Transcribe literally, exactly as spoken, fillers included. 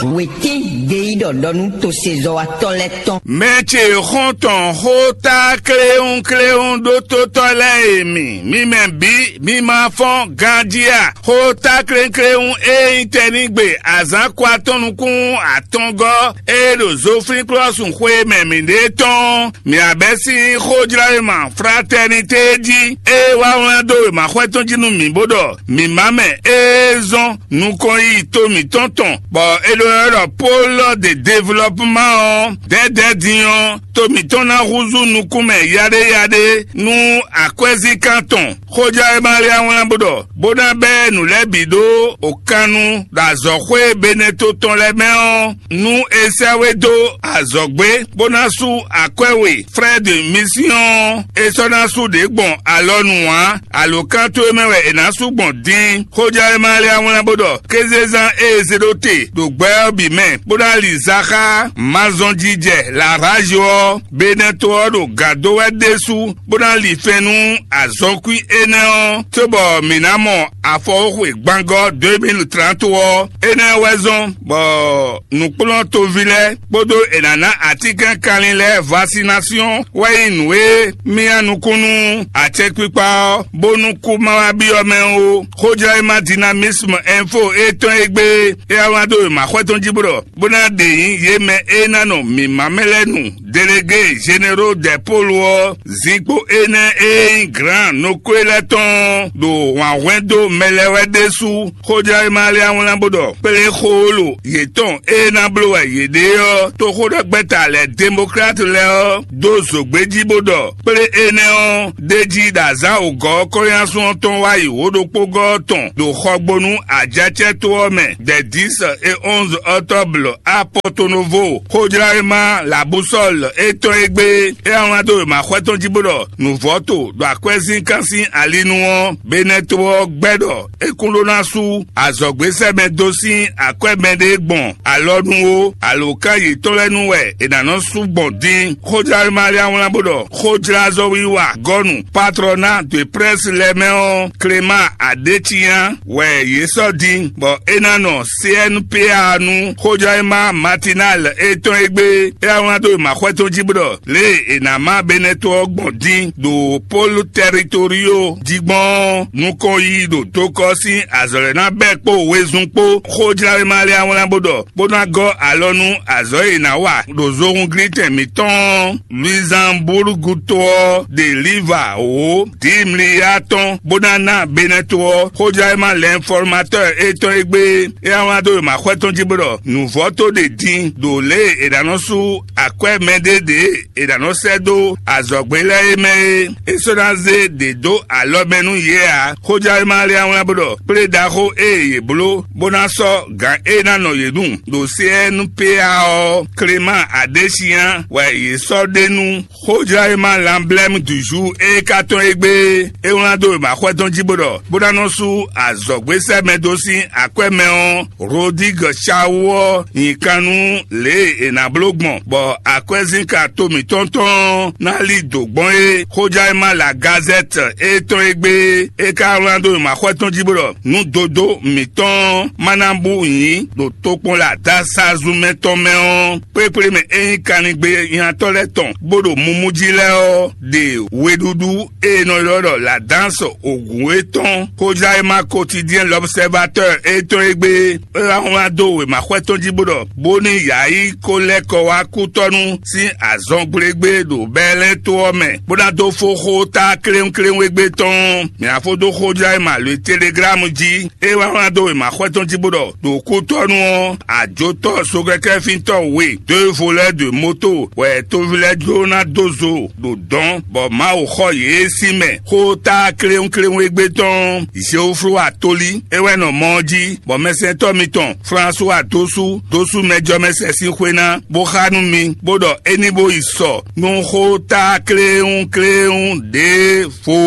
Wětín gbeyíɖɔ ɖɔ nú tosezɔ́watɔ́ lɛ́ɛ tɔn. Mɛ ce xɔ́ntɔn xóta kléwúnkléwún ɖótótɔ́ lɛ́ɛ e mi, mi mɛ bǐ, mi ma fɔ́n ganjí a? Xóta kléwúnkléwún e nyí tɛnígbe azǎn kɔ atɔ́ nukún atɔngɔ́ e ɖo Zoflíklɔ́sun xwe mɛ mǐɖée tɔn, mǐ abɛ́ sín xójlɔ́yema fratɛnitée jí, e wá wlán dó wěmaxwɛ tɔn jí nú mǐ bó ɖɔ mǐ má mɛ e zɔ́n nukɔn yi to mǐtɔn tɔn, bɔ é ɖó ɛ ɖɔ Pɔ́lu de Devlɔpuma ɔ́, dɛ̌dɛ̌ din ɔ́, to mǐtɔn ná húzú nukún mɛ yaɖéyaɖé nú akwɛ́zíkan tɔn. Xójá e ma lé wlán bó ɖɔ, bó ná bɛ́ nǔ lɛ́ɛ bǐ ɖó òkannu ɖo azɔ̌xwé Beneto tɔn lɛ́ɛ mɛ ɔ́, nú è sɛ́ we dó azɔ̌gbé, bó ná sú akwɛ́ we. Frɛ́ de Misiyɔn ɔ́, è sɔ́ ná sú ɖě gbɔn alɔnu ǎ. Alǒkan towe mɛ wɛ è nǎ sú gbɔn din. Xójá e ma lé wlán bó ɖɔ, kézezán e è zé ɖó te ɖo gbɛ ɔ́ bǐ mɛ, bó ná li zaxá mazɔnjijɛ Larázo ɔ́, Beneto ɔ́ ɖo gǎn dó wɛ ɖésú, bó ná li fɛn nú azɔnkwín énɛ́ ɔ́, cóbɔ mǐ ná mɔ afɔxóxwe gbangɔ́ deux mille trente ɔ́. Énɛ́ wɛ zɔ́n bɔ nǔkplɔ́ntoví lɛ́ɛ kpódó è nǎ ná atínkɛnkanlin lɛ́ɛ vasinasiyɔn wɛ nyí nǔ e myá nukún nú acɛkpikpa ɔ́, bónú kú ma wá byɔ́ mɛ ó. Xójlɔ́yímá Dinamisme Info e tɔn e gbé é wá wlán dó wěma xwɛ tɔn jí bó ɖɔ, bó ná ɖe nyǐ yě mɛ e ná nɔ mǐmá mɛ lɛ́ɛ nu. Délégué généraux des pôles ɔ́, zinkpo énɛ́ e nyí gran nokwe lɛ́ɛ tɔn ɖo wǎn hwɛ́n dó mɛ lɛ́ɛ wɛ ɖésú. Xójlɔ́yímá lɛ́ɛ wlán bó ɖɔ, kplé xólo yětɔn e ná bló wɛ yě ɖe ɔ́, toxóɖɛgbɛ́ta lɛ́ɛ Demoklátu lɛ́ɛ ɔ́ dó zǒgbé jí bó ɖɔ, kplé énɛ́ ɔ́, ɖ'é jí ɖo azǎn wǒgɔ́ ɔ́ kɔ́nyásun ɔ́ tɔn wá yi wǒ ɖokpógɔ́ ɔ́ tɔn ɖo xɔgbónú Ajacɛ́ to ɔ́ mɛ, dɛ dix et onze octobre à Porto Novo. Xójlɔ́yímá Labusɔ́l e tɔn e gbé é wá wlán dó wěma xwɛ tɔn jí bó ɖɔ, nǔvɔ́to ɖo akwɛ́zínkán sín ali nu ɔ́, Beneto ɔ́ gbɛ́ ɖɔ é kún ɖó ná sú azɔ̌gbésɛmɛ dó sín akwɛ́ mɛɖé gbɔn alɔ nu ó. Alǒkan yětɔn lɛ́ɛ nu wɛ è nǎ nɔ sú gbɔn din. Xójlɔ́yímá lɛ́ɛ wlán bó ɖɔ, xójlázɔ́wiwa gɔ́nu Patrɔ́na de Prɛ́si lɛ́ɛ mɛ ɔ́, Klemáa Aɖécinya wɛ yě sɔ́ din, bɔ é ná nɔ C N P A nú xójɔ́yímá Matinal e tɔn e gbé. É wá wlán dó wěma xwɛ tɔn jí bó ɖɔ, lě e è nǎ má Beneto ɔ́ gbɔn din ɖo Polu Tɛritorio jí gbɔn ɔ́, nukɔn yiyi ɖo dokɔ sín azɔ̌ lɛ́ɛ ná bɛ́ kpó wezun kpó. Xójláwéma lɛ́ɛ wá wlán bó ɖɔ, bó ná gɔ́ alɔ nú azɔ̌ e è nǎ wa ɖo zohúnglítɛn mǐtɔn ɔ́, Luizanbúrúgu to ɔ́ ɖe Liva wǒ Dimliya tɔn, bó ná ná Benɛto ɔ́. Xójlɔ́yímá Lɛnfɔlmatɔ́ɔ étɔn e gbé é wá wlán dó wěma xwɛ tɔn jí bó ɖɔ, nǔvɔ́ tó ɖe din ɖo lě e è nǎ nɔ sú akwɛ́ mɛɖé ɖě è nǎ nɔ sɛ́ dó azɔ̌gbé lɛ́ɛ é mɛ é. É sɔ́ ná zé ɖě dó alɔ mɛ nú yě ǎ. Xójlɔ́yímá lɛ́ɛ wá wlán bó ɖɔ, kplé ɖaxó e yě bló bó ná sɔ́ gǎn e ná nɔ yě nu ɖo C N P A ɔ́, Klemáa Aɖésinya wɛ yě sɔ́ ɖe nú. Xójlɔ́yímá Lanblɛ́mu Duzu e ka tɔn e gbé é wlán dó wěma xwɛ tɔn jí bó ɖɔ, bó ná nɔ sú azɔ̌gbésɛ́mɛ dó sín akwɛ́ mɛ ɔ́, Rodígɔ Cawu ɔ́ nyi kan nú lě e è nǎ bló gbɔn, bɔ akwɛ́zínka to mǐtɔn tɔn ɔ́ ná lí dǒ gbɔn é. Xójlɔ́yímá La Gazɛ́t e tɔn e gbé é ka wlán dó wěma xwɛ tɔn jí bó ɖɔ, nú dodó mǐtɔn ɔ́ má ná bú nyǐ ɖo tokpɔnla dasazu mɛ tɔn mɛ ɔ́, kpékplé mɛ e nyí kanlingbe nyatɔ́ lɛ́ɛ tɔn bó ɖo mumu jí lɛ́ɛ ɔ́, ɖe weɖúɖú e è nɔ ylɔ́ ɖɔ La Danse Ogun é tɔn. Xójlɔ́yímá Quotidien L'Observateur e tɔn e gbé é wá wlán dó wěma xwɛ tɔn jí bó ɖɔ, bónú yǎyí ko lɛ́ kɔ wá kútɔ́nú sín azɔngblégbé ɖo Bɛlɛ́n to ɔ́ mɛ, bó ná dó fó xó ta kléwúnkléwún égbé tɔn. Mǐ ná fó dó xójlɔ́yímá Le Teleglámu jí. É wá wlán dó wěma xwɛ tɔn jí bó ɖɔ, ɖo kútɔ́nú ɔ́, àjotɔ́ sokɛkɛ́fíntɔ́ we, deux voleurs de moto, wɛ toví lɛ́ɛ jló ná dó zo ɖo dɔ̌n, bɔ Mawu xɔ yě sín mɛ. Xó ta kléwúnkléwún égbé tɔn, Zeoflu Atolí, é wɛ nɔ mɔ ɔ́ jí, bɔ mɛsɛntɔ́ mitɔn Flasuwa dósú dósú mɛjɔmɛsɛn sín xwé ná, bó xá nú mi, bó ɖɔ é ní bó yi sɔ nú xó ta kléwúnkléwún ɖěvo.